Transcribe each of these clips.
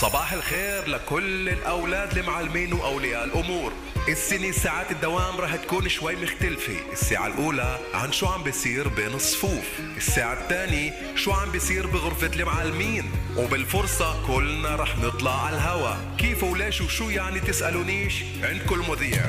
صباح الخير لكل الأولاد المعلمين وأولياء الأمور. السنة ساعات الدوام رح تكون شوي مختلفة. الساعة الأولى عن شو عم بيصير بين الصفوف، الساعة الثانية شو عم بيصير بغرفة المعلمين، وبالفرصة كلنا رح نطلع على الهوا. كيف وليش وشو يعني تسألونيش؟ عندكم المذيع.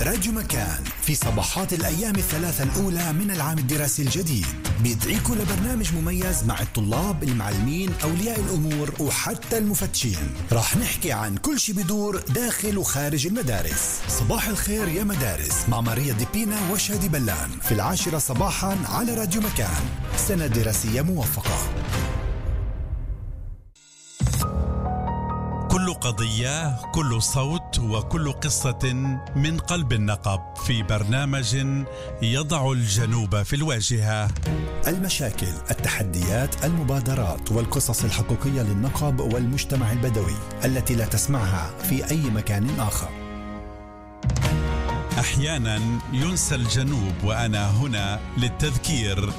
راديو مكان في صباحات الأيام الثلاثة الأولى من العام الدراسي الجديد بيدعيكم لبرنامج مميز مع الطلاب، المعلمين، أولياء الأمور وحتى المفتشين. راح نحكي عن كل شي بدور داخل وخارج المدارس. صباح الخير يا مدارس مع ماريا ديبينا وشادي بلان في 10 صباحا على راديو مكان. سنة دراسية موفقة. كل قضية، كل صوت وكل قصة من قلب النقب في برنامج يضع الجنوب في الواجهة. المشاكل، التحديات، المبادرات والقصص الحقيقية للنقب والمجتمع البدوي التي لا تسمعها في أي مكان آخر. أحيانا ينسى الجنوب وأنا هنا للتذكير.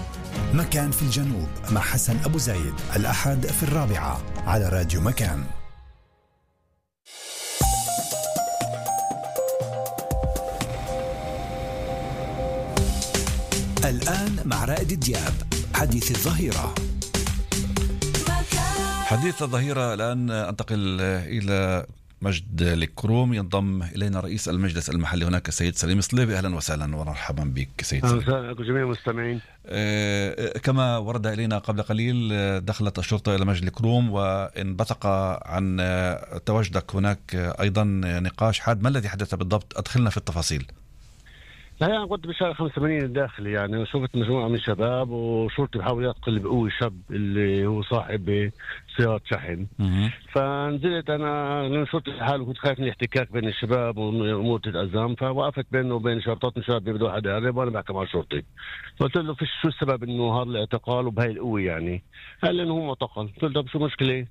مكان في الجنوب مع حسن أبو زايد الأحد في 4 على راديو مكان. الآن مع رائد دياب حديث الظهيرة. حديث الظهيرة الآن أنتقل إلى مجد الكروم. ينضم إلينا رئيس المجلس المحلي هناك السيد سليم صليبي. أهلا وسهلا ومرحبا بك سيد سليم. أهلا جميع المستمعين. كما ورد إلينا قبل قليل دخلت الشرطة إلى مجد الكروم وانبثق عن تواجدك هناك أيضا نقاش حاد. ما الذي حدث بالضبط؟ أدخلنا في التفاصيل. لا يعني كنت بشارع 85 الداخلي يعني، وشفت مجموعة من الشباب وشرطي بحاول يقتل بقوة شاب اللي هو صاحب سيارة شحن. فنزلت أنا لأن شرطي لحاله كنت خايف من الاحتكاك بين الشباب وأمور تتأزم، فوقفت بينه وبين شرطات من شباب بده واحد يقرب وأنا بحكي مع الشرطي. قلت له فيش شو السبب إنه هذا الاعتقال وبهاي القوة يعني؟ قال لي إنه هو معتقل. قلت له شو مشكلة؟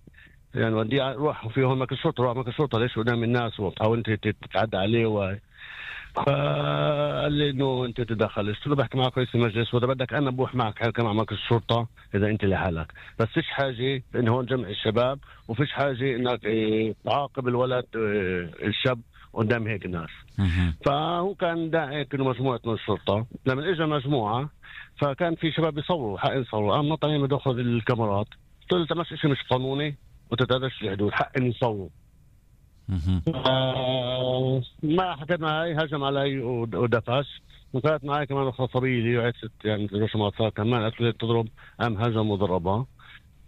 يعني ودي روح في هون مكان الشرطة، روح مكان الشرطة ليش قدام الناس وتحاول أنت تتعدى عليه فقال لي انه انت تدخل. قلت له بحكي معك رئيس المجلس واذا بدك انا بروح معك حكي مع مركز الشرطه اذا انت لحالك، بس فيش حاجه انه هون جمع الشباب وفيش حاجه انك تعاقب الولد الشاب قدام هيك ناس. فهو كان داعي انه مجموعه من الشرطه. لما اجى مجموعه فكان في شباب يصوروا، حق يصوروا، قام نطني بدخل الكاميرات. قلت له شيء مش قانوني وتتعداش الحدود، حق ان يصوروا. ما حكيت معي، هجم علي ودفش، وكانت معي كمان اخرى صبيه لي وعدت يعني ما صار كمان قالت لي تضرب، قام هجم وضربها.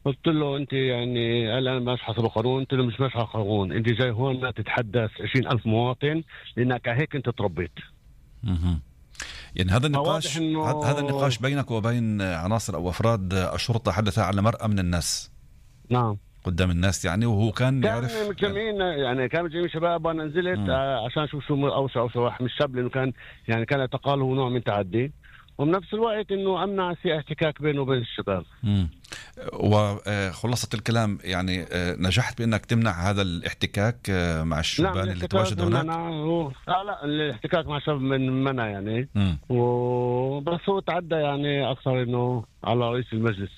قلت له انت يعني قال انا ماشي حسب القانون. قلت له مش ماشي على القانون، انت جاي هون ما تتحدث 20,000 مواطن لانك هيك انت تربيت. يعني هذا النقاش هذا النقاش بينك وبين عناصر او افراد الشرطه حدث على مرأى من الناس. نعم قدام الناس يعني، وهو كان يعرف متجمعين يعني كانوا متجمعين شباب وانا نزلت عشان اشوف شو اوسع واحد من الشاب، لانه كان يعني كان اعتقاله هو نوع من تعدي، وبنفس الوقت انه امنع في احتكاك بينه وبين الشباب. وخلاصة الكلام يعني نجحت بانك تمنع هذا الاحتكاك مع الشبان اللي تواجدوا هناك؟ لا الاحتكاك مع شباب من منع يعني. وبس هو تعدى يعني اكثر انه على رئيس المجلس.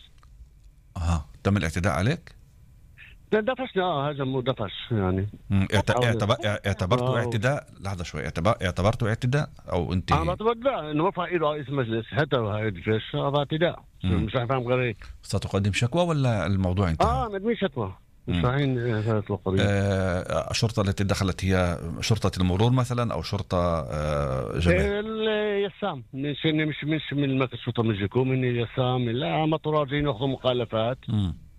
تم الاعتداء عليك؟ دفشنا هجم ودفش يعني. اعتبرته اعتداء؟ لحظة شوي، اعتبرته اعتداء او انت؟ بعتبر لا، انه رفع ايده رئيس المجلس حتى هاي الجيش هذا اعتداء. مش راح فاهم غير هيك. ستقدم شكوى ولا الموضوع انتهى؟ مقدمين شكوى. مش رايحين هذه القضية. الشرطة التي دخلت هي شرطة المرور مثلا او شرطة جماعية؟ اليسام مش من مركز الشرطة من جيكو، من اليسام. لا مطورات جايين ياخذوا مخالفات.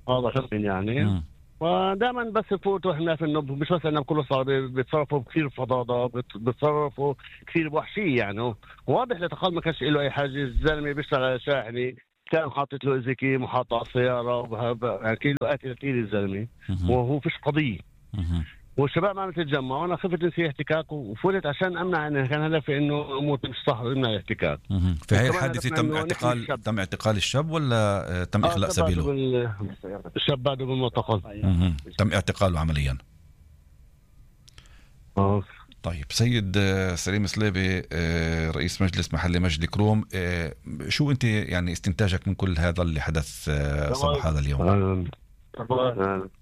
هذا شخص يعني. ودائما بس يفوتوا احنا في النب، مش بس انه كله صار بيتصرفوا بكثير فضاضه، بيتصرفوا كثير بوحشيه يعني. واضح لتقال ما كانش له اي حاجه. الزلمه بيشتغل على شاحني، كان حاطط له ازيكي محاط على السياره يعني كيلو قاتل كثير الزلمه، وهو فيش قضيه. والشباب عم تتجمع وانا خفت نسي احتكاك وفوتت عشان امنع انه كان هدفي انه امور مش صح وامنع الاحتكاك. في هاي الحادثه تم اعتقال الشاب ولا تم اخلاء سبيله؟ الشاب بعده بالمعتقل. تم اعتقاله عمليا. طيب سيد سليم صليبي رئيس مجلس محلي مجد الكروم، شو انت يعني استنتاجك من كل هذا اللي حدث صباح هذا اليوم؟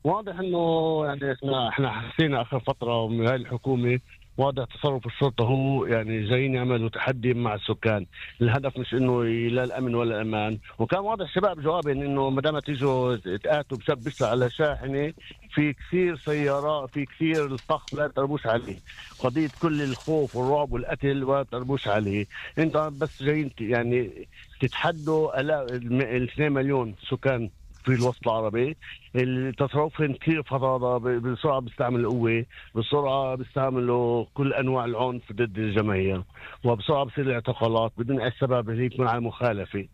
واضح انه يعني احنا حسينا اخر فتره من هاي الحكومه، واضح تصرف الشرطه هو يعني جايين يعملوا تحدي مع السكان. الهدف مش انه لا الامن ولا الامان. وكان واضح شباب جوابين انه ما دام تيجوا تقاتلوا بشاب بيسرق على شاحنه، في كثير سيارات، في كثير الفخ لا تربوش عليه. قضيه كل الخوف والرعب والقتل ولا تربوش عليه. انت بس جايين يعني تتحدوا 2 مليون سكان في الوسط العربي. التصرفهم كثير فظاظة، بسرعة بيستعملوا القوة، بسرعة بيستعملوا كل أنواع العنف ضد الجماهير، وبسرعة بصير الاعتقالات بدون أي سبب اللي يكون على مخالفة.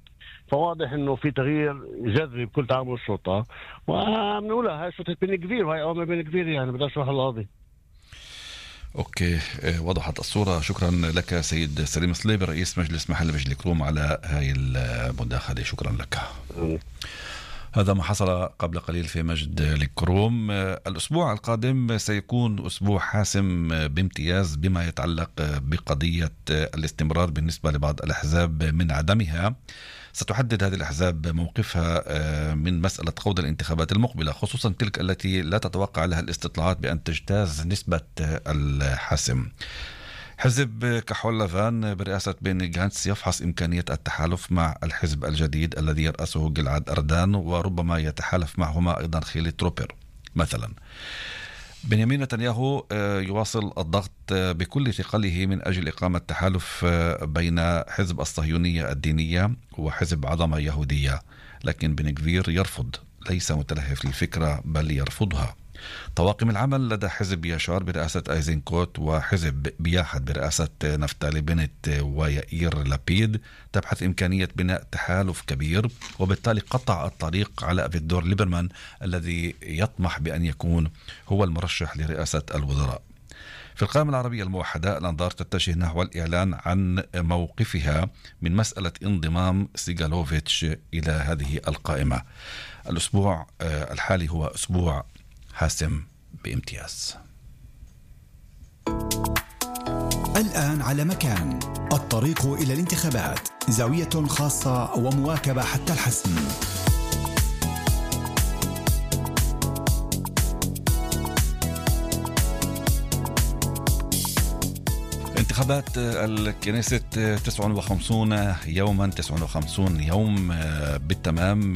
فواضح إنه في تغيير جذري بكل تعامل الشرطة، وبنقولها هاي شرطة بن كبير وهي أوامر بن كبير، يعني بدأش روح القاضي. اوكي، وضحت الصورة. شكرا لك سيد سليم صليبي رئيس مجلس محل مجلس الكروم على هاي المداخلة. شكرا لك. هذا ما حصل قبل قليل في مجد الكروم. الأسبوع القادم سيكون أسبوع حاسم بامتياز بما يتعلق بقضية الاستمرار بالنسبة لبعض الأحزاب من عدمها. ستحدد هذه الأحزاب موقفها من مسألة خوض الانتخابات المقبلة، خصوصا تلك التي لا تتوقع لها الاستطلاعات بأن تجتاز نسبة الحسم. حزب كحول لافان برئاسة بيني غانتس يفحص إمكانية التحالف مع الحزب الجديد الذي يرأسه جلعاد أردان، وربما يتحالف معهما أيضا خيلي تروبر مثلا. بنيامين نتنياهو يواصل الضغط بكل ثقله من أجل إقامة تحالف بين حزب الصهيونية الدينية وحزب عظمة يهودية، لكن بن غفير يرفض، ليس متلهف للفكرة بل يرفضها. طواقم العمل لدى حزب ياشار برئاسة أيزنكوت وحزب بياحد برئاسة نفتالي بنت ويائير لابيد تبحث إمكانية بناء تحالف كبير، وبالتالي قطع الطريق على أفيغدور ليبرمان الذي يطمح بأن يكون هو المرشح لرئاسة الوزراء. في القائمة العربية الموحدة الأنظار تتجه نحو الإعلان عن موقفها من مسألة انضمام سيغالوفيتش إلى هذه القائمة. الأسبوع الحالي هو أسبوع حاسم بامتياز. الآن على مكان، الطريق إلى الانتخابات، زاوية خاصة ومواكبة حتى الحسم. انتخابات الكنيسة 59 يوما، 59 يوم بالتمام.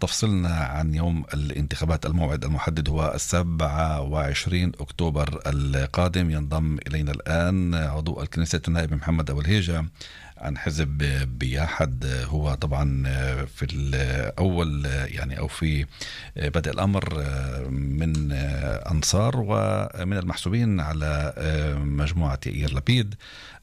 تفصلنا عن يوم الانتخابات. الموعد المحدد هو 27 أكتوبر القادم. ينضم إلينا الآن عضو الكنيسة النائب محمد أبو الهيجة عن حزب بياحد. هو طبعا في الأول يعني أو في بدء الأمر من أنصار ومن المحسوبين على مجموعة يائير لابيد.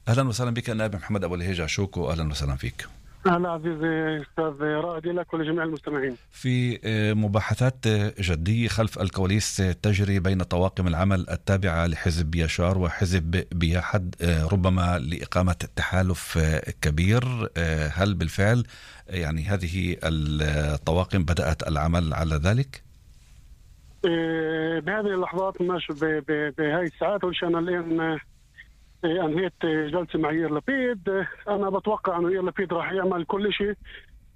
أهلا وسهلا بك نائب محمد أبو الهيجة شوكو، أهلا وسهلا فيك. أهلا عزيزي أستاذ رائد لك ولجميع المستمعين. في مباحثات جدية خلف الكواليس تجري بين طواقم العمل التابعة لحزب ياشار وحزب بياحد ربما لإقامة تحالف كبير. هل بالفعل يعني هذه الطواقم بدأت العمل على ذلك؟ بهذه اللحظات ماشي بهاي الساعات، وشان الآن أنهيت جلسة مع يائير لابيد. أنا بتوقع أنه يائير لابيد راح يعمل كل شيء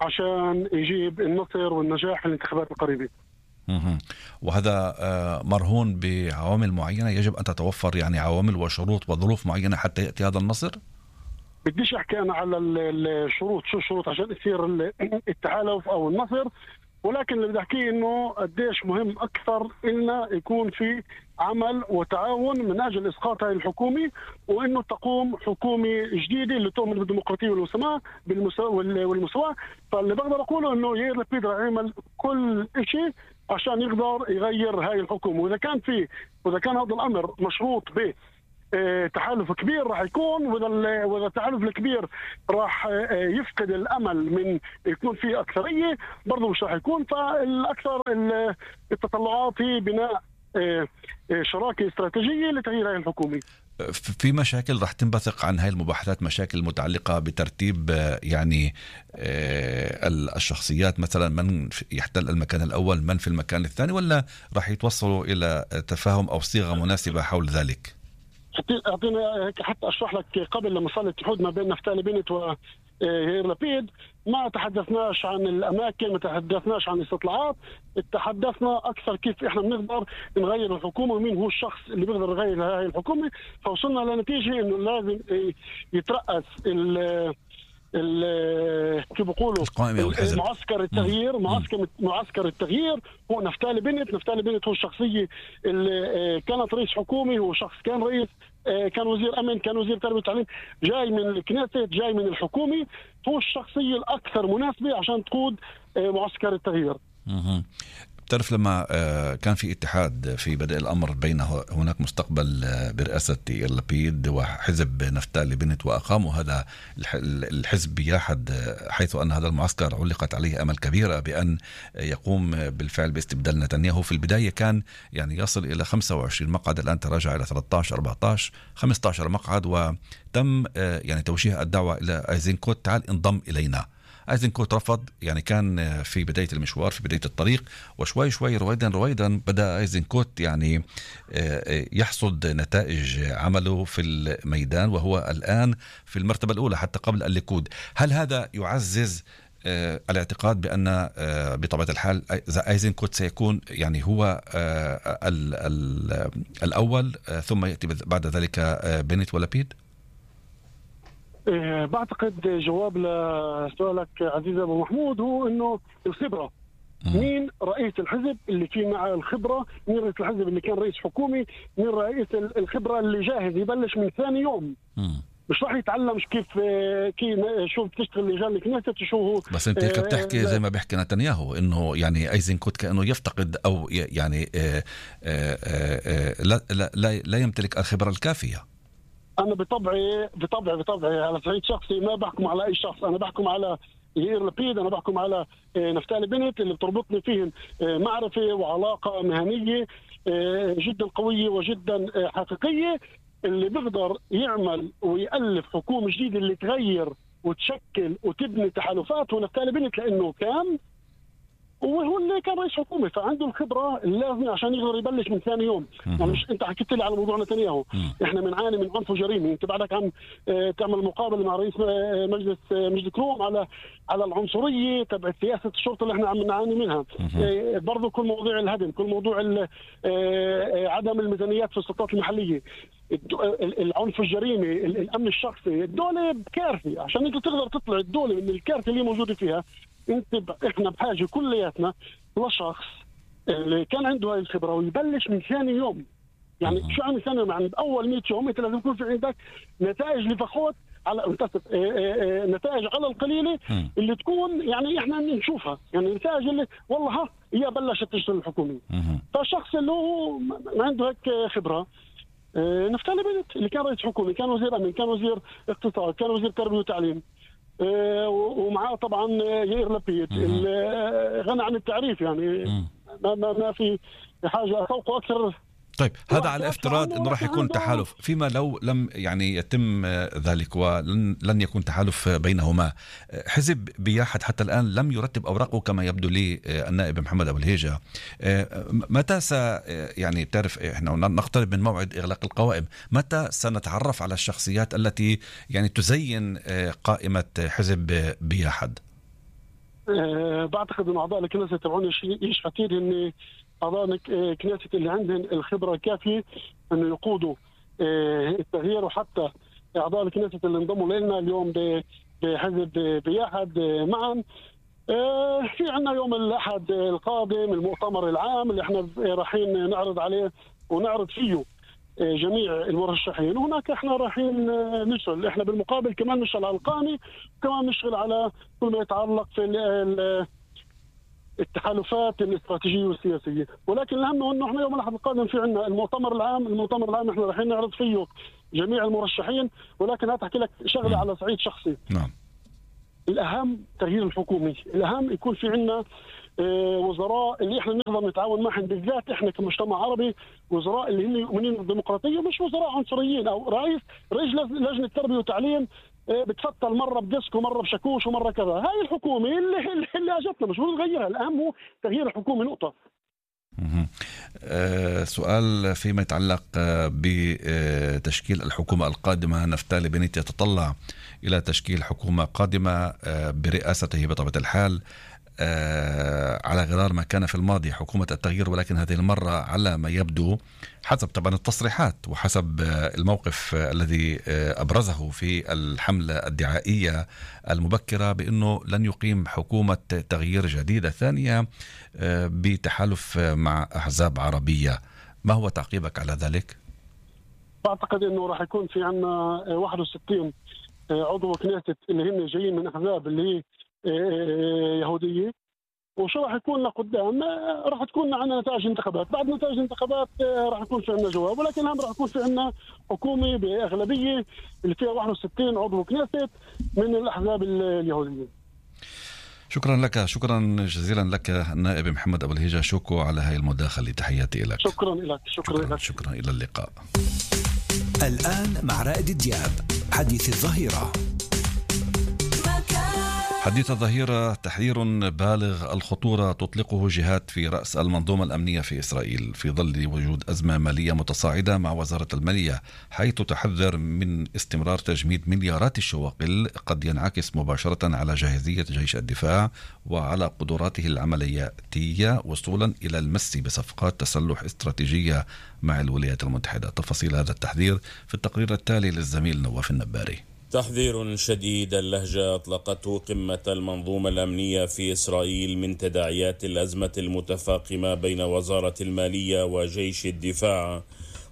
عشان يجيب النصر والنجاح في الانتخابات القريبة. وهذا مرهون بعوامل معينة يجب أن تتوفر، يعني عوامل وشروط وظروف معينة حتى يأتي هذا النصر؟ بديش أحكي أنا على الشروط، شو الشروط عشان يصير التحالف أو النصر، ولكن اللي بدي أحكيه إنه قديش مهم أكثر إنه يكون في عمل وتعاون من أجل إسقاط هاي الحكومة، وإنه تقوم حكومة جديدة اللي تؤمن بالديمقراطية والمساواة. فاللي بقدر أقوله إنه يائير لابيد راح يعمل كل شيء عشان يقدر يغير هاي الحكومة. وإذا كان هذا الأمر مشروط به تحالف كبير راح يكون، وإذا التحالف الكبير راح يفقد الأمل من يكون فيه أكثرية برضو مش راح يكون. فالأكثر التطلعات هي بناء شراكة استراتيجية لتغيير هاي الحكومة. في مشاكل راح تنبثق عن هاي المباحثات، مشاكل متعلقة بترتيب يعني الشخصيات، مثلا من يحتل المكان الأول، من في المكان الثاني، ولا راح يتوصلوا إلى تفاهم أو صيغة مناسبة حول ذلك؟ أعطينا حتى أشرح لك. قبل لما صار الاتحاد ما بين نفتالي بنت يائير لبيد ما تحدثناش عن الأماكن، ما تحدثناش عن الاستطلاعات، تحدثنا أكثر كيف إحنا بنقدر نغير الحكومة ومين هو الشخص اللي بيقدر يغير هذه الحكومة. فوصلنا لنتيجة إنه لازم يترأس كيف بيقولوا معسكر التغيير. معسكر التغيير هو نفتالي بنت. نفتالي بنت هو الشخصية اللي كانت رئيس حكومي، هو شخص كان رئيس، كان وزير أمن، كان وزير تربية وتعليم، جاي من الكنيسة، جاي من الحكومة، هو الشخصية الأكثر مناسبة عشان تقود معسكر التغيير. بتعرف لما كان في اتحاد في بدء الأمر بين هناك مستقبل برئاسة يائير لبيد وحزب نفتالي بنت، وأقاموا هذا الحزب بياحد، حيث أن هذا المعسكر علقت عليه أمل كبيرة بأن يقوم بالفعل باستبدال نتنياهو. في البداية كان يعني يصل إلى 25 مقعد، الآن تراجع إلى 13 14 15 مقعد، وتم يعني توجيه الدعوة إلى أيزنكوت تعال انضم إلينا. أيزنكوت رفض، يعني كان في بداية المشوار، في بداية الطريق، وشوي شوي رويدا بدأ أيزنكوت يعني يحصد نتائج عمله في الميدان، وهو الآن في المرتبة الأولى حتى قبل الليكود. هل هذا يعزز الاعتقاد بأن بطبيعة الحال أيزنكوت سيكون يعني هو الأول، ثم يأتي بعد ذلك بنت ولبيد؟ بعتقد جواب لسؤالك عزيز أبو محمود هو إنه الخبرة. مين رئيس الحزب اللي فيه مع الخبرة؟ مين رئيس الحزب اللي كان رئيس حكومي؟ مين رئيس الخبرة اللي جاهز يبلش من ثاني يوم؟ مش راح يتعلم كيف شو بتشتغل لجان الكنيسة شو هو. بس انت هيك بتحكي زي ما بيحكي نتنياهو انه يعني ايزنكوت كأنه يفتقد او يعني لا يمتلك الخبرة الكافية. أنا بطبعي على صعيد شخصي ما بحكم على أي شخص، أنا بحكم على يائير لبيد، أنا بحكم على نفتالي بنت اللي بتربطني فيهم معرفة وعلاقة مهنية جدا قوية وجدا حقيقية، اللي بيقدر يعمل ويألف حكومة جديدة اللي تغير وتشكل وتبني تحالفات. ونفتالي بنت لأنه كان وهو اللي كان رئيس حكومة، فعنده الخبرة اللازمة عشان يقدر يبلش من ثاني يوم. يعني مش انت حكيت لي على موضوع نتنياهو، احنا بنعاني من عنف وجريمة. انت بعدك عم تعمل مقابلة مع رئيس مجلس كروم على العنصرية تبع سياسة الشرطة اللي احنا عم نعاني منها. برضو كل موضوع الهدم، كل موضوع عدم الميزانيات في السلطات المحلية، العنف والجريمة، الأمن الشخصي، الدولة بكارثة. عشان انت تقدر تطلع الدولة من الكارثة اللي موجودة فيها، احنا بحاجه كلياتنا لشخص اللي كان عنده هاي الخبره ويبلش من ثاني يوم. يعني شو عم ثاني يوم؟ يعني باول 100 يوم انت لازم يكون في عندك نتائج لفخوت على نتائج على القليله اللي تكون يعني احنا نشوفها، يعني نتائج اللي والله هي بلشت تشتغل الحكومه. فالشخص اللي هو ما عنده هيك خبره، نفتالي بنت اللي كان رئيس حكومي، كان وزير امن، كان وزير اقتصاد، كان وزير تربيه وتعليم، ومعاه طبعا يائير لبيد غنى عن التعريف. يعني ما في حاجه اسوقه اكثر. طيب هذا على افتراض انه راح يكون تحالف، فيما لو لم يعني يتم ذلك ولن يكون تحالف بينهما. حزب بياحد حتى الان لم يرتب اوراقه كما يبدو لي النائب محمد ابو الهيجة. متى يعني بتعرف احنا نقترب من موعد اغلاق القوائم، متى سنتعرف على الشخصيات التي يعني تزين قائمة حزب بياحد؟ بعتقد ان اعضاء الكنيسة تبعون يشحتين ان أعضاء الكنيسة اللي عندهم الخبرة الكافية أنه يقودوا التغيير، وحتى أعضاء الكنيسة اللي انضموا لنا اليوم بحزب بياحد معا. في عنا يوم الأحد القادم المؤتمر العام اللي احنا رايحين نعرض عليه ونعرض فيه جميع المرشحين، وهناك احنا رايحين نشتغل. احنا بالمقابل كمان نشتغل على القانون، وكمان نشتغل على كل ما يتعلق في التحالفات الاستراتيجية والسياسية. ولكن الأهم هو أنه احنا يوم الأحد القادم في عنا المؤتمر العام احنا رايحين نعرض فيه جميع المرشحين. ولكن هتحكي لك شغلة على صعيد شخصي. نعم. الأهم تغيير الحكومي، الأهم يكون في عنا وزراء اللي احنا نقدر نتعاون معهم، بالذات احنا كمجتمع عربي، وزراء اللي هم يؤمنين بالديمقراطية، مش وزراء عنصريين او رئيس لجنة تربية وتعليم بتفتل مرة بديسك ومرة بشاكوش ومرة كذا. هاي الحكومة اللي اجتنا مش نغيرها. الأهم هو تغيير الحكومة، نقطة. سؤال فيما يتعلق بتشكيل الحكومة القادمة. نفتالي بنيت يتطلع إلى تشكيل حكومة قادمة برئاسته بطبيعة الحال على غرار ما كان في الماضي حكومة التغيير، ولكن هذه المرة على ما يبدو حسب طبعا التصريحات وحسب الموقف الذي أبرزه في الحملة الدعائية المبكرة بأنه لن يقيم حكومة تغيير جديدة ثانية بتحالف مع أحزاب عربية. ما هو تعقيبك على ذلك؟ بعتقد أنه راح يكون في عنا 61 عضو كنيست اللي هم جايين من أحزاب اللي هي يهودية، وشو راح يكون لقدام؟ راح تكون عندنا نتائج انتخابات، بعد نتائج الانتخابات راح يكون في عندنا جواب، ولكن هم راح يكون في عندنا حكومة بأغلبية اللي فيها 61 عضو كنيست من الأحزاب اليهودية. شكرا لك، شكرا جزيلا لك النائب محمد أبو الهيجة شوكو على هاي المداخلة. تحياتي لك. شكرا لك. شكرا إلى اللقاء. الآن مع رائد دياب حديث الظهيرة. حديث الظهيرة تحذير بالغ الخطورة تطلقه جهات في رأس المنظومة الأمنية في إسرائيل في ظل وجود أزمة مالية متصاعدة مع وزارة المالية، حيث تحذر من استمرار تجميد مليارات الشواقل قد ينعكس مباشرة على جاهزية جيش الدفاع وعلى قدراته العملياتية وصولا إلى المس بصفقات تسلح استراتيجية مع الولايات المتحدة. تفاصيل هذا التحذير في التقرير التالي للزميل نواف النباري. تحذير شديد اللهجة أطلقته قمة المنظومة الأمنية في إسرائيل من تداعيات الأزمة المتفاقمة بين وزارة المالية وجيش الدفاع،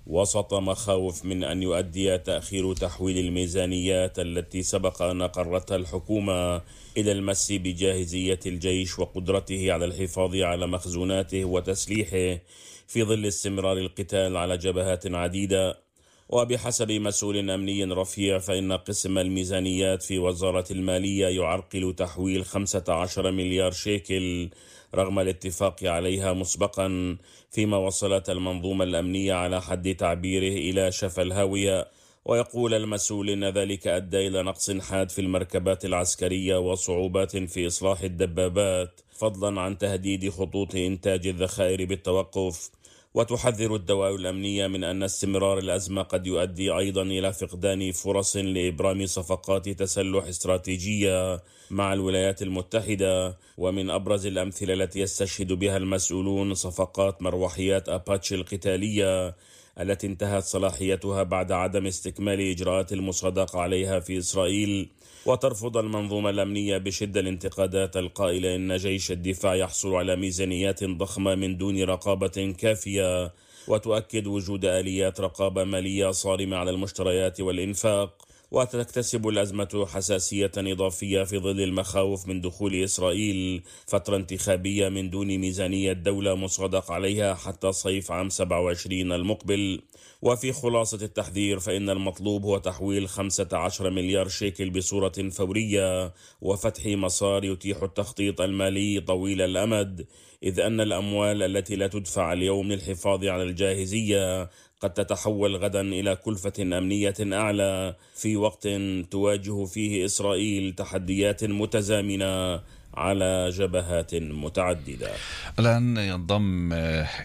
وسط مخاوف من أن يؤدي تأخير تحويل الميزانيات التي سبق أن أقرتها الحكومة إلى المس بجاهزية الجيش وقدرته على الحفاظ على مخزوناته وتسليحه في ظل استمرار القتال على جبهات عديدة. وبحسب مسؤول أمني رفيع فإن قسم الميزانيات في وزارة المالية يعرقل تحويل 15 مليار شيكل رغم الاتفاق عليها مسبقا، فيما وصلت المنظومة الأمنية على حد تعبيره إلى شفا الهاوية. ويقول المسؤول إن ذلك أدى إلى نقص حاد في المركبات العسكرية وصعوبات في إصلاح الدبابات، فضلا عن تهديد خطوط إنتاج الذخائر بالتوقف. وتحذر الدوائر الأمنية من أن استمرار الأزمة قد يؤدي أيضا إلى فقدان فرص لإبرام صفقات تسلح استراتيجية مع الولايات المتحدة. ومن أبرز الأمثلة التي يستشهد بها المسؤولون صفقات مروحيات أباتشي القتالية التي انتهت صلاحيتها بعد عدم استكمال إجراءات المصادقة عليها في إسرائيل. وترفض المنظومة الأمنية بشدة الانتقادات القائلة إن جيش الدفاع يحصل على ميزانيات ضخمة من دون رقابة كافية، وتؤكد وجود آليات رقابة مالية صارمة على المشتريات والإنفاق. وتكتسب الأزمة حساسية إضافية في ظل المخاوف من دخول إسرائيل فترة انتخابية من دون ميزانية دولة مصادق عليها حتى صيف عام 27 المقبل. وفي خلاصة التحذير فإن المطلوب هو تحويل 15 مليار شيكل بصورة فورية وفتح مسار يتيح التخطيط المالي طويل الأمد، إذ أن الأموال التي لا تدفع اليوم للحفاظ على الجاهزية قد تتحول غدا إلى كلفة أمنية أعلى في وقت تواجه فيه إسرائيل تحديات متزامنة على جبهات متعددة. الآن ينضم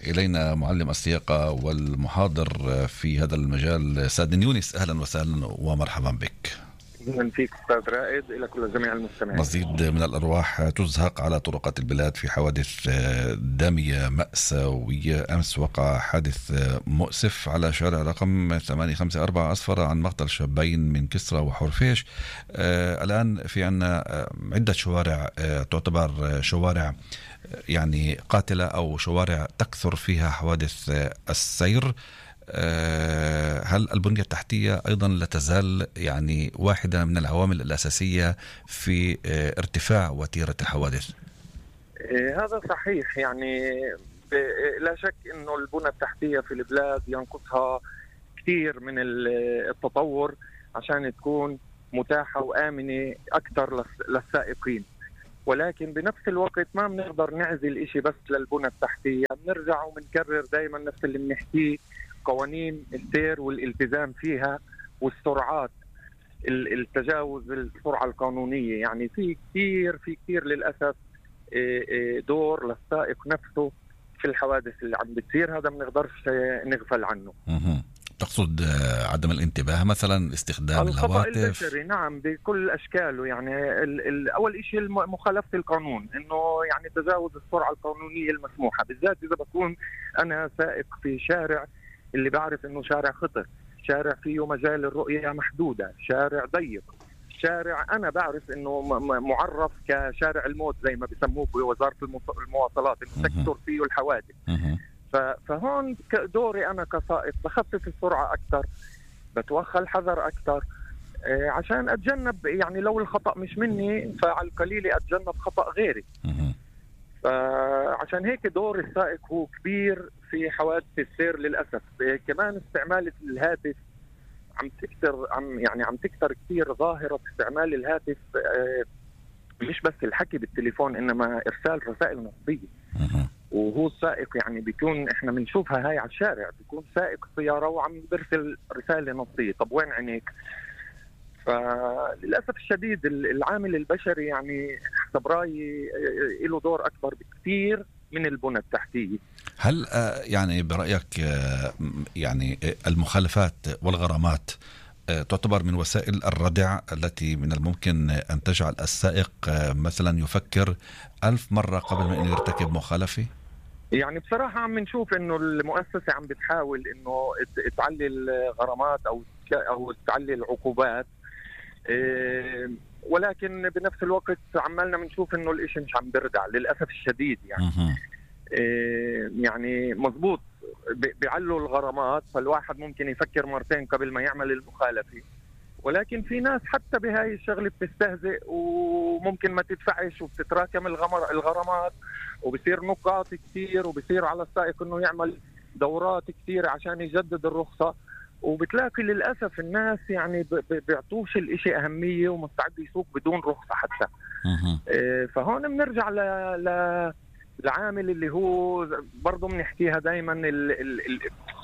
إلينا معلم السياقة والمحاضر في هذا المجال سادن يونس. أهلا وسهلا ومرحبا بك. من فيك أستاذ رائد إلى كل جميع المستمعين. مزيد من الأرواح تزهق على طرقات البلاد في حوادث دامية مأساوية. أمس وقع حادث مؤسف على شارع رقم 854 أسفر عن مقتل شابين من كسرى وحرفيش. الآن في عنا عدة شوارع تعتبر شوارع يعني قاتلة أو شوارع تكثر فيها حوادث السير. هل البنية التحتية أيضا لا تزال يعني واحدة من العوامل الأساسية في ارتفاع وتيرة الحوادث؟ هذا صحيح، يعني لا شك أنه البنية التحتية في البلاد ينقصها كثير من التطور عشان تكون متاحة وآمنة أكثر للسائقين، ولكن بنفس الوقت ما بنقدر نعزل إشي بس للبنية التحتية. بنرجع وبنكرر دايما نفس اللي بنحكيه، قوانين السير والالتزام فيها والسرعات، التجاوز السرعة القانونية. يعني في كثير للأسف دور للسائق نفسه في الحوادث اللي عم بتصير، هذا بنقدرش نغفل عنه. تقصد عدم الانتباه مثلا، استخدام الخطأ الهواتف؟ البشري نعم بكل أشكاله. يعني أول شيء مخالفة القانون، إنه يعني تجاوز السرعة القانونية المسموحة، بالذات إذا بكون أنا سائق في شارع اللي بعرف إنه شارع خطر، شارع فيه مجال الرؤية محدودة، شارع ضيق، شارع أنا بعرف إنه معرف كشارع الموت زي ما بيسموه بوزارة المواصلات، إنه تكثر فيه الحوادث. فهون دوري أنا كسائق بخفف السرعة أكثر، بتوخى الحذر أكثر، عشان أتجنب، يعني لو الخطأ مش مني فعلى القليل أتجنب خطأ غيري. فعشان هيك دور السائق هو كبير في حوادث السير للأسف. كمان استعمال الهاتف عم تكثر كثير ظاهرة استعمال الهاتف، مش بس الحكي بالتليفون إنما إرسال رسائل نصية. وهو السائق يعني بيكون احنا بنشوفها هاي على الشارع، بيكون سائق سيارة وعم برسل رسالة نصية، طب وين عينيك؟ فللأسف الشديد العامل البشري يعني حسب رأيي له دور أكبر بكثير من البنى التحتية. هل يعني برأيك يعني المخالفات والغرامات تعتبر من وسائل الردع التي من الممكن أن تجعل السائق مثلا يفكر 1000 مرة قبل ما يرتكب مخالفة؟ يعني بصراحة عم نشوف إنه المؤسسة عم بتحاول إنه تعلي الغرامات أو تعلي العقوبات، ولكن بنفس الوقت عمالنا بنشوف إنه الإشي مش عم بردع للأسف الشديد. يعني يعني مزبوط بيعلوا الغرامات، فالواحد ممكن يفكر مرتين قبل ما يعمل المخالفة، ولكن في ناس حتى بهاي الشغلة بتستهزئ وممكن ما تدفعش وبتتراكم الغرامات وبصير نقاط كثير، وبصير على السائق انه يعمل دورات كثير عشان يجدد الرخصة، وبتلاقي للأسف الناس يعني بيعطوش الاشي أهمية ومستعد يسوق بدون رخصة حتى. فهون بنرجع العامل اللي هو برضو بنحكيها دايما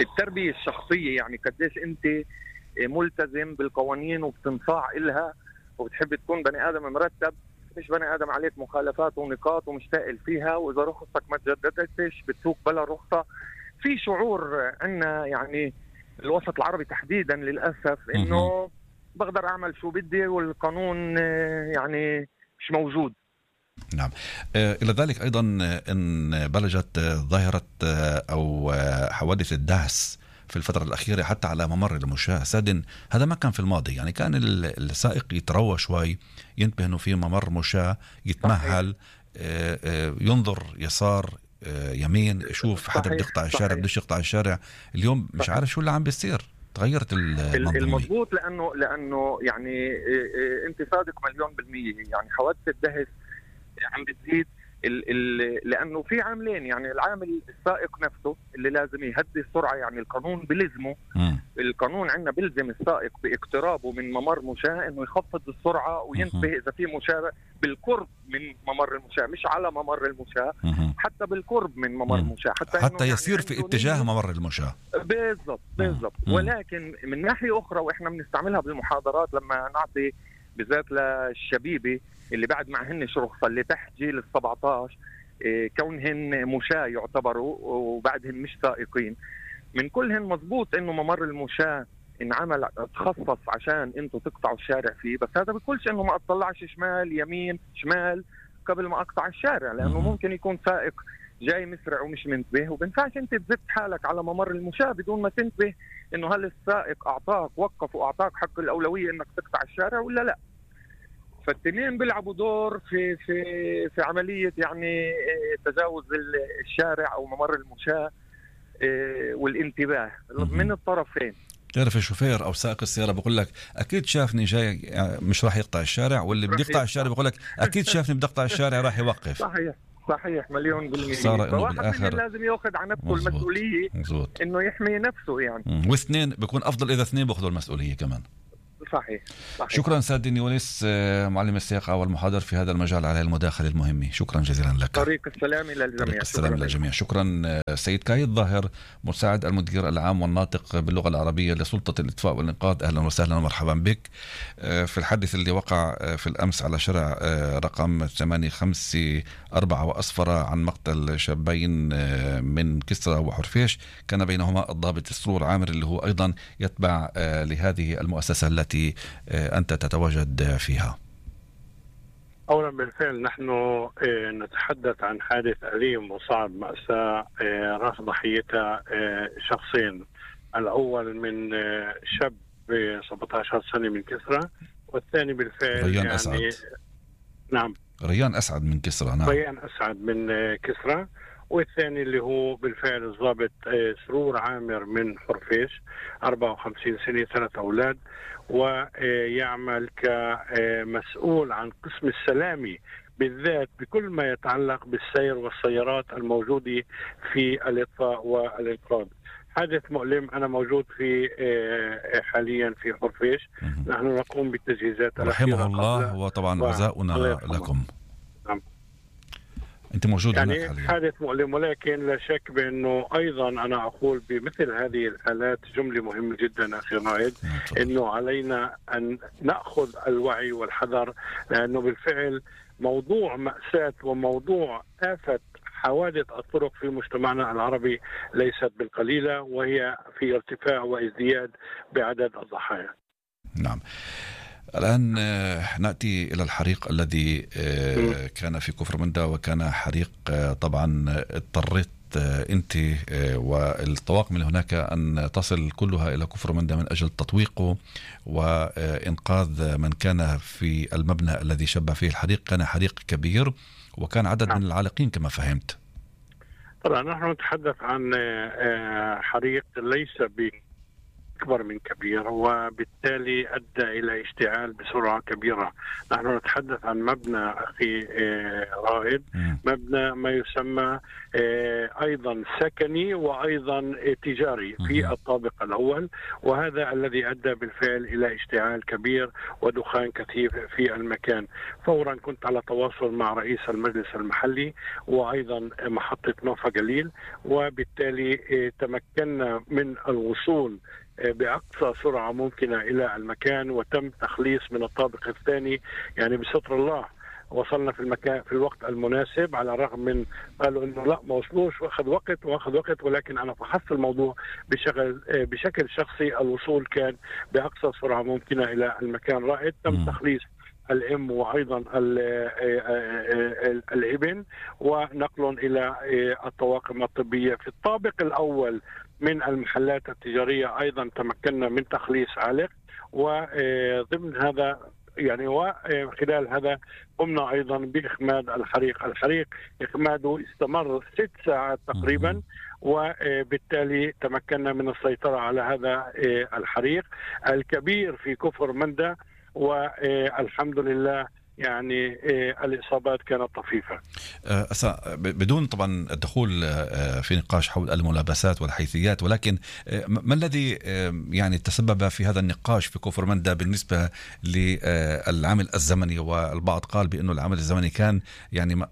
التربية الشخصية، يعني قديش انت ملتزم بالقوانين وبتنصاع إلها وبتحب تكون بني آدم مرتب، مش بني آدم عليك مخالفات ونقاط ومشتاقل فيها، وإذا رخصتك ما تجددتش بتسوق بلا رخصة. في شعور عنا يعني الوسط العربي تحديدا للأسف إنه بقدر أعمل شو بدي والقانون يعني مش موجود. نعم. إلى ذلك أيضا إن بلجت ظاهرة أو حوادث الدهس في الفترة الأخيرة حتى على ممر المشاة. سادن هذا ما كان في الماضي، يعني كان السائق يتروى شوي، ينتبه إنه في ممر مشاة، يتمهل، ينظر يسار يمين، يشوف حدا بده يقطع الشارع بدوش يقطع الشارع. اليوم مش عارف شو اللي عم بيصير، تغيرت المضبوط. لأنه يعني انت صادق 100%. يعني حوادث الدهس عم بتزيد لأنه في عاملين، يعني العامل السائق نفسه اللي لازم يهدي السرعة، يعني القانون بلزمه، القانون عندنا بلزم السائق باقترابه من ممر مشاة انه يخفض السرعة وينتبه اذا في مشاة بالقرب من ممر المشاة، مش على ممر المشاة، حتى بالقرب من ممر المشاة، حتى يسير يعني في اتجاه ممر المشاة. بالضبط. ولكن من ناحية أخرى، وإحنا بنستعملها بالمحاضرات لما نعطي بالذات للشبيبة اللي بعد معهنش رخصة، اللي تحت جيل 17، كونهن مشاة يعتبروا وبعدهم مش سائقين، من كلهن مزبوط انه ممر المشاة انعمل تخصص عشان انتوا تقطعوا الشارع فيه، بس هذا بيقولش انه ما اطلعش شمال يمين شمال قبل ما اقطع الشارع، لانه ممكن يكون سائق جاي مسرع ومش منتبه، وبنفعش انت تزت حالك على ممر المشاة بدون ما تنتبه انه هل السائق اعطاك وقف واعطاك حق الاولوية انك تقطع الشارع ولا لا. فالتنين بيلعبوا دور في عملية يعني تجاوز الشارع أو ممر المشاة والانتباه من الطرفين. تعرف الشوفير أو سائق السيارة بقول لك أكيد شافني جاي مش راح يقطع الشارع، واللي بده يقطع الشارع بقول لك أكيد شافني بدي أقطع الشارع راح يوقف. صحيح 100%. فواحد منهم لازم يأخذ على نفسه المسؤولية إنه يحمي نفسه يعني. واثنين بيكون أفضل إذا اثنين بأخذوا المسؤولية كمان. صحيح. شكرا سيد يونس، معلم السياقة والمحاضر في هذا المجال على المداخلة المهمة. شكرا جزيلا لك. طريق السلام إلى الجميع. طريق السلام إلى الجميع. شكرا سيد كايد ظاهر، مساعد المدير العام والناطق باللغة العربية لسلطة الإطفاء والإنقاذ. أهلا وسهلا ومرحبا بك. في الحادث اللي وقع في الأمس على شارع رقم 854 وأسفر عن مقتل شابين من كسرى وحرفيش، كان بينهما الضابط سرور عامر اللي هو أيضا يتبع لهذه المؤسسة التي أنت تتواجد فيها. أولا بالفعل نحن نتحدث عن حادث أليم وصعب، مأساة راس ضحيتها شخصين. الأول من شاب 17 سنة من كسرى، والثاني بالفعل ريان يعني أسعد. نعم، ريان أسعد من كسرى. نعم، ريان أسعد من كسرى، والثاني اللي هو بالفعل الضابط سرور عامر من حرفيش، 54 سنة، 3 أولاد، ويعمل كمسؤول عن قسم السلامي بالذات بكل ما يتعلق بالسير والسيارات الموجودة في الإطفاء والإنقاذ. حادث مؤلم. أنا موجود في حاليا في حرفيش. نحن نقوم بالتجهيزات رحمه الله، وطبعا عزاؤنا لكم. نعم. أنت موجود يعني هناك حاليا. حادث مؤلم، ولكن لا شك بأنه أيضا أنا أقول بمثل هذه الحالات جملة مهمة جدا أخي رائد، أنه علينا أن نأخذ الوعي والحذر، لأنه بالفعل موضوع مأساة وموضوع آفة حوادث الطرق في مجتمعنا العربي ليست بالقليلة، وهي في ارتفاع وازدياد بعدد الضحايا. نعم. الآن نأتي إلى الحريق الذي كان في كفر مندا، وكان حريق طبعا اضطريت أنت والطواقم من هناك أن تصل كلها إلى كفر مندا من أجل تطويقه وإنقاذ من كان في المبنى الذي شب فيه الحريق. كان حريق كبير وكان عدد من العالقين كما فهمت. طبعا نحن نتحدث عن حريق ليس أكبر من كبير، وبالتالي أدى إلى اشتعال بسرعة كبيرة. نحن نتحدث عن مبنى أخي رائد، مبنى ما يسمى أيضا سكني وأيضا تجاري في الطابق الأول، وهذا الذي أدى بالفعل إلى اشتعال كبير ودخان كثيف في المكان. فورا كنت على تواصل مع رئيس المجلس المحلي وأيضا محطة نوفا جليل، وبالتالي تمكنا من الوصول بأقصى سرعة ممكنة إلى المكان، وتم تخليص من الطابق الثاني. يعني بستر الله وصلنا في المكان في الوقت المناسب، على الرغم من قالوا إنه لا ما وصلوش وأخذ وقت، ولكن أنا فحصت الموضوع بشكل شخصي. الوصول كان بأقصى سرعة ممكنة إلى المكان. رائد تم تخليص الأم وأيضا الابن ونقلهم إلى الطواقم الطبية. في الطابق الأول من المحلات التجارية أيضا تمكنا من تخليص عالق، وضمن هذا يعني وخلال هذا قمنا أيضا بإخماد الحريق. إخماده استمر 6 ساعات تقريبا، وبالتالي تمكنا من السيطرة على هذا الحريق الكبير في كفر مندا، والحمد لله يعني الإصابات كانت طفيفة. بدون طبعا الدخول في نقاش حول الملابسات والحيثيات، ولكن ما الذي يعني تسبب في هذا النقاش في كفر مندا بالنسبة للعامل الزمني؟ والبعض قال بأنه العامل الزمني كان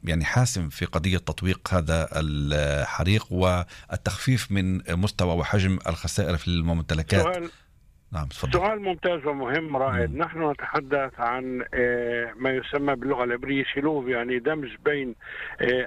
يعني حاسم في قضية تطويق هذا الحريق والتخفيف من مستوى وحجم الخسائر في الممتلكات. نعم، سؤال ممتاز ومهم رائد. نحن نتحدث عن ما يسمى باللغة العبرية شلوف، يعني دمج بين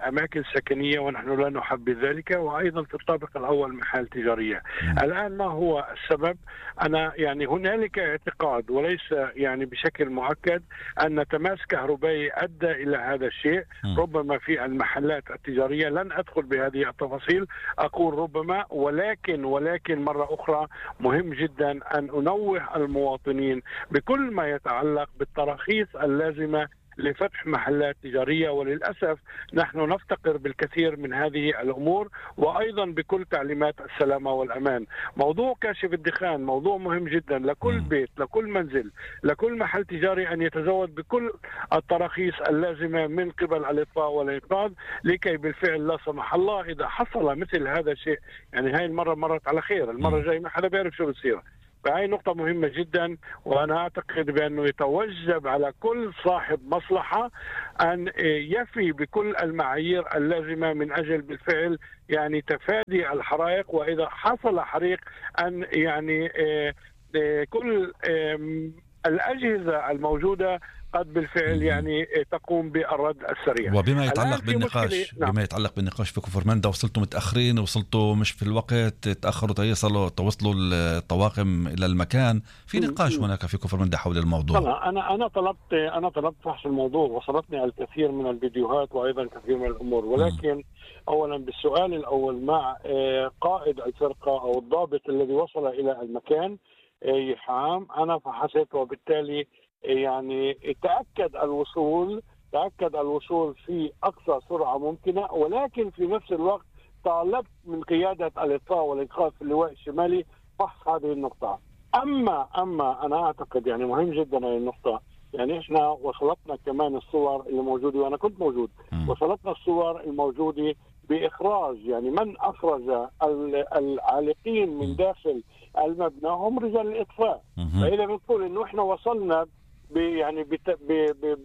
أماكن سكنية، ونحن لا نحب ذلك، وأيضا في الطابق الأول محال تجارية. الآن ما هو السبب؟ أنا يعني هنالك اعتقاد وليس يعني بشكل مؤكد أن تماس كهربائي أدى إلى هذا الشيء. ربما في المحلات التجارية، لن أدخل بهذه التفاصيل، أقول ربما، ولكن مرة أخرى مهم جدا أن أنوه المواطنين بكل ما يتعلق بالتراخيص اللازمة لفتح محلات تجارية. وللأسف نحن نفتقر بالكثير من هذه الأمور، وأيضا بكل تعليمات السلامة والأمان. موضوع كاشف الدخان موضوع مهم جدا لكل بيت، لكل منزل، لكل محل تجاري أن يتزود بكل التراخيص اللازمة من قبل الإطفاء والإنقاذ، لكي بالفعل لا سمح الله إذا حصل مثل هذا الشيء، يعني هاي المرة مرت على خير، المرة الجاية ما حدا بيعرف شو بصير، فهي نقطة مهمة جدا، وأنا أعتقد بأنه يتوجب على كل صاحب مصلحة أن يفي بكل المعايير اللازمة من أجل بالفعل يعني تفادي الحرائق، وإذا حصل حريق أن يعني كل الأجهزة الموجودة قد بالفعل يعني تقوم بالرد السريع. وبما يتعلق بالنقاش بما يتعلق بالنقاش في كفر مندا، وصلتوا متأخرين، وصلتوا مش في الوقت، تأخروا توصلوا الطواقم إلى المكان، في نقاش هناك في كفر مندا حول الموضوع. أنا طلبت فحص الموضوع، وصلتني الكثير من الفيديوهات وأيضا كثير من الأمور، ولكن أولا بالسؤال الأول مع قائد الفرقة أو الضابط الذي وصل إلى المكان يحام، أنا فحصت وبالتالي يعني تأكد الوصول في أقصى سرعة ممكنة، ولكن في نفس الوقت طالبت من قيادة الإطفاء والإنقاذ في اللواء الشمالي فحص هذه النقطة. أما أنا أعتقد يعني مهم جدا هذه النقطة، يعني إحنا وصلتنا كمان الصور اللي موجودة وأنا كنت موجود، وصلتنا الصور الموجودة بإخراج يعني من أخرج العالقين من داخل المبنى هم رجال الإطفاء. فإذا بنقول إنه إحنا وصلنا يعني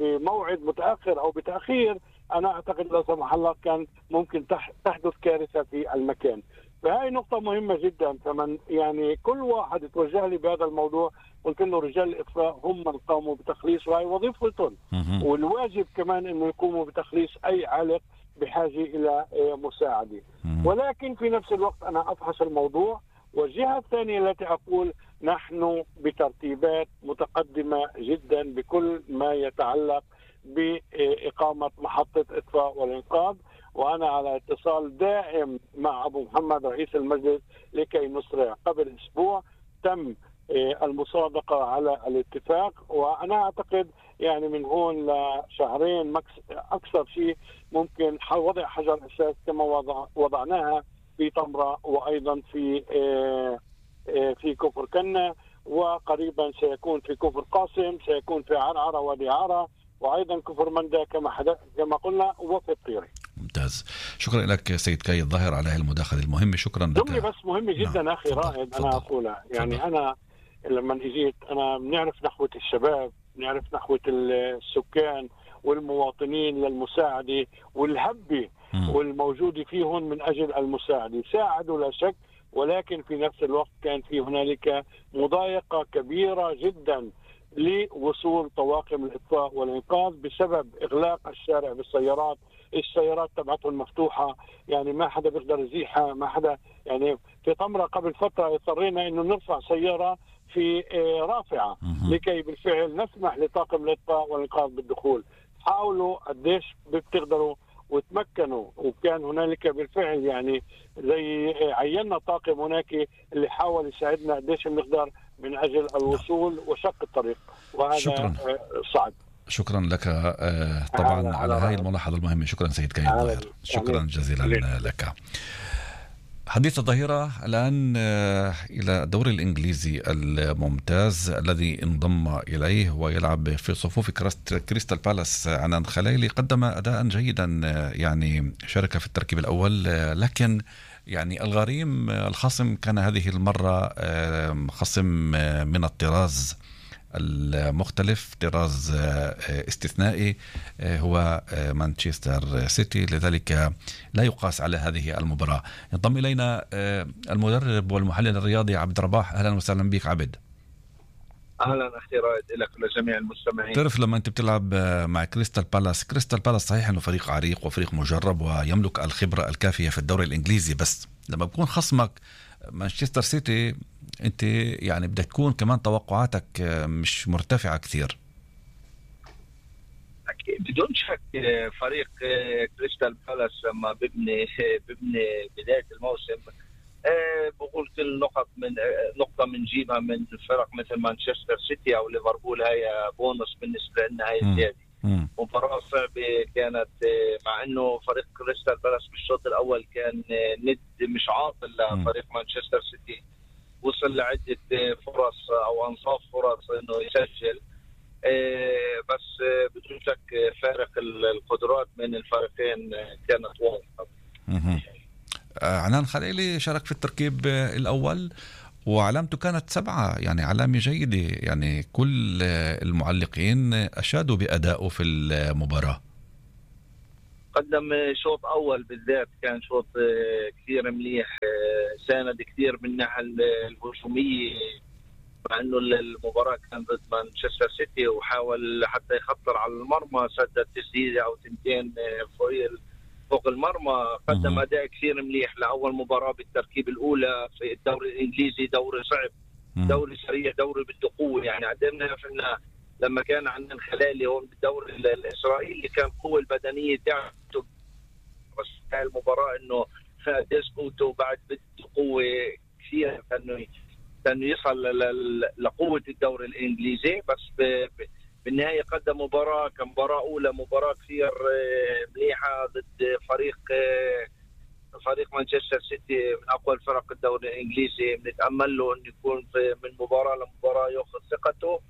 بموعد متأخر أو بتأخير، أنا أعتقد لا سمح الله كان ممكن تحدث كارثة في المكان. فهي نقطة مهمة جدا. فمن يعني كل واحد توجه لي بهذا الموضوع قلت له رجال الإطفاء هم من قاموا بتخليص، وهي وظيفتهم، والواجب كمان إنه يقوموا بتخليص أي عالق بحاجة إلى مساعدة. ولكن في نفس الوقت أنا أفحص الموضوع، والجهة الثانية التي أقول نحن بترتيبات متقدمة جدا بكل ما يتعلق بإقامة محطة إطفاء والإنقاذ، وأنا على اتصال دائم مع أبو محمد رئيس المجلس لكي نسرع. قبل أسبوع تم المصادقة على الاتفاق، وأنا أعتقد يعني من هون لشهرين أكثر شيء ممكن وضع حجر أساس كما وضعناها في طمرة، وأيضا في كفر كنة، وقريبا سيكون في كفر قاسم، سيكون في عرعرة وادي عرة، وأيضا كفر مندا كما قلنا، وفي الطيري. ممتاز، شكرا لك سيد كاي الظاهر على هذه المداخلة المهمة. شكرا لك. جملة بس مهمة جدا أخي رائد أنا أقولها، يعني أنا لما اجيت أنا بنعرف نحوة الشباب، بنعرف نحوة السكان والمواطنين للمساعدة والهبة والموجود فيهم من أجل المساعدة، ساعدوا لا شك، ولكن في نفس الوقت كان في هنالك مضايقة كبيرة جدا لوصول طواقم الإطفاء والإنقاذ بسبب إغلاق الشارع بالسيارات. السيارات تبعتهم مفتوحة، يعني ما حدا بيقدر يزيحها، ما حدا. يعني في طمرة قبل فترة اضطرينا إنه نرفع سيارة في رافعة لكي بالفعل نسمح لطاقم الإطفاء والإنقاذ بالدخول. حاولوا قديش بتقدروا وتمكنوا، وكان هنالك بالفعل يعني زي عيننا طاقم هناك اللي حاول يساعدنا قديش بنقدر من أجل الوصول وشق الطريق، وهذا صعب. شكرا لك طبعا على هاي الملاحظة المهمة. شكرا سيد كاي الظاهر، شكرا جزيلا لك. حديث الظهيرة الآن إلى الدوري الإنجليزي الممتاز الذي انضم إليه ويلعب في صفوف كريستال بالاس. عنان خليلي قدم أداء جيدا، يعني شارك في التركيب الأول، لكن يعني الغريم الخصم كان هذه المرة خصم من الطراز المختلف، طراز استثنائي هو مانشستر سيتي، لذلك لا يقاس على هذه المباراة. ينضم إلينا المدرب والمحلل الرياضي عبد الرباح. أهلا وسهلا بك عبد. أهلا أخي رائد لك ولجميع المستمعين. تعرف لما أنت بتلعب مع كريستال بالاس صحيح أنه فريق عريق وفريق مجرب ويملك الخبرة الكافية في الدوري الإنجليزي، بس لما بكون خصمك مانشستر سيتي انت يعني بدك تكون كمان توقعاتك مش مرتفعة كثير. أكيد بدون شك فريق كريستال بالاس لما ببني بداية الموسم بقول كل نقطة منجيبها من فرق مثل مانشستر سيتي أو ليفربول هي بونص بالنسبة لنا، هي زيادة. مباراة صعبة كانت، مع انه فريق كريستال بالاس بالشوط الاول كان ند مش عاطل لفريق مانشستر سيتي، وصل لعدة فرص او انصاف فرص انه يسجل، بس بدون شك فارق القدرات من الفريقين كانت واضحة. عنان خليلي شارك في التركيب الاول وعلامته كانت 7، يعني علامة جيدة، يعني كل المعلقين أشادوا بأدائه في المباراة. قدم شوط أول بالذات كان شوط كثير مليح، ساند كثير من الناحية الهجومية، مع انه المباراة كانت ضد مانشستر سيتي وحاول حتى يخطر على المرمى، سدد تسديدة او تنتين فوق المرمى. قدم اداء كثير مليح لاول مباراة بالتركيب الاولى في الدوري الانجليزي. دوري صعب، دوري سريع، دوري بده قوة. يعني قدمنا احنا لما كان عندنا الخلالي هون بالدوري الاسرائيلي كان قوة البدنية تاعته، بس المباراة انه قديش قوته بعد بده قوة كثير انه يصل لقوة الدوري الانجليزي. بس بالنهاية قدم مباراة كمباراة اولى، مباراة كثير مليحة ضد فريق مانشستر سيتي من اقوى الفرق الدوري الانجليزي. بنتأمل له انه يكون من مباراة لمباراة ياخذ ثقته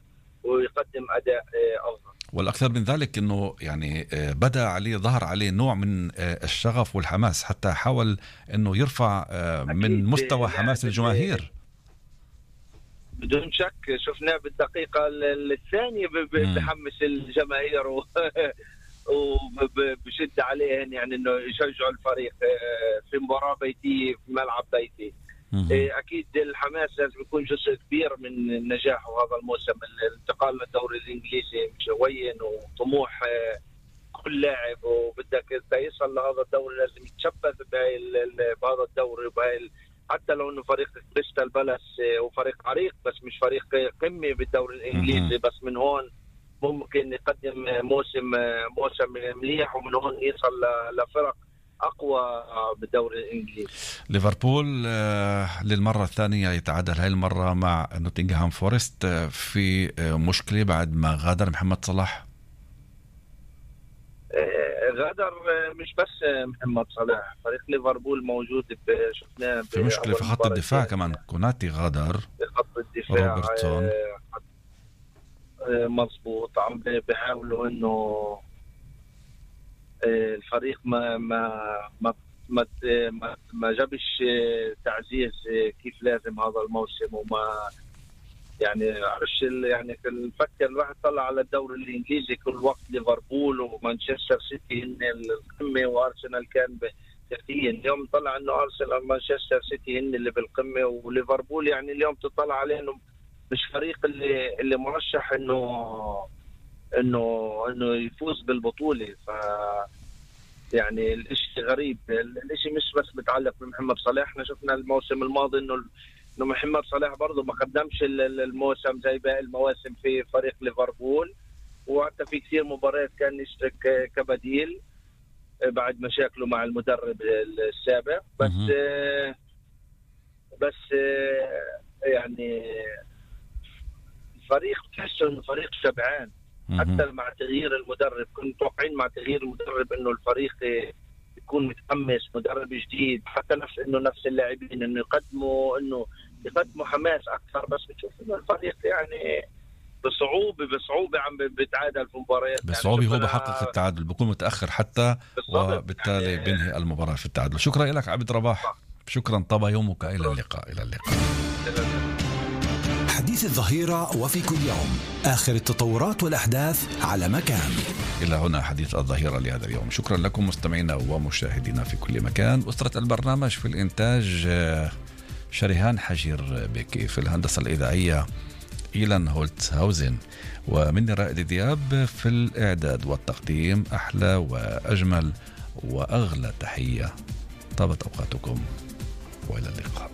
ويقدم اداء افضل. والاكثر من ذلك انه يعني بدا عليه، ظهر عليه نوع من الشغف والحماس، حتى حاول انه يرفع من مستوى حماس الجماهير. بدون شك شفناه بالدقيقة الثانية بحمس الجماهير وبشد عليهم، يعني انه يشجعوا الفريق في مباراة بيتية في ملعب بيتي. اكيد الحماس لازم يكون جزء كبير من نجاحه هذا الموسم. الانتقال للدوري الانجليزي مش هين، وطموح كل لاعب، وبدك يصل لهذا الدوري لازم يتشبث بهذا الدوري حتى لو انه فريق كريستال بالاس وفريق عريق، بس مش فريق قمة بالدوري الانجليزي. بس من هون ممكن يقدم موسم مليح، ومن هون يصل لفرق اقوى بالدوري الانجليزي. ليفربول للمرة الثانية يتعادل هاي المرة مع نوتنغهام فورست في مشكلة بعد ما غادر محمد صلاح. غادر مش بس محمد صلاح، فريق ليفربول موجود شفناه في مشكلة في خط الدفاع كمان. كوناتي غادر في خط الدفاع، روبرتسون مظبوط. عم بيحاولوا انه الفريق ما جابش تعزيز كيف لازم هذا الموسم، وما يعني عرفش يعني نفكر راح نطلع على الدوري الانجليزي كل وقت ليفربول ومانشستر سيتي هن القمه، وارسنال كان تحتيا. اليوم نطلع انه ارسنال ومانشستر سيتي هن اللي بالقمه، وليفربول يعني اليوم تطلع عليه انه مش فريق اللي مرشح انه يفوز بالبطوله. ف يعني الاشي غريب، الاشي مش بس متعلق بمحمد صلاح. احنا شفنا الموسم الماضي انه محمد صلاح برضه ما قدمش الموسم زي باقي المواسم في فريق ليفربول، وحتى في كثير مباريات كان يشترك كبديل بعد مشاكله مع المدرب السابق. بس يعني فريق تحسه انه فريق شبعان. حتى مع تغيير المدرب كنت متوقعين مع تغيير المدرب انه الفريق يكون متحمس، مدرب جديد، حتى نفس اللاعبين انه يقدموا حماس اكثر. بس بتشوف انه الفريق يعني بصعوبه عم بيتعادل في مباريات، بصعوبه يعني هو بحقق التعادل، بيكون متاخر حتى وبالتالي يعني بينهي المباراه في التعادل. شكرا لك عبد رباح، شكرا. طاب يومك. الى اللقاء. حديث الظهيرة وفي كل يوم آخر التطورات والأحداث على مكان. إلى هنا حديث الظهيرة لهذا اليوم. شكرا لكم مستمعينا ومشاهدينا في كل مكان. أسرة البرنامج في الإنتاج شريهان حجير بكي، في الهندسة الإذاعية إيلان هولت هاوزن، ومني رائد دياب في الإعداد والتقديم. أحلى وأجمل وأغلى تحية. طابت أوقاتكم وإلى اللقاء.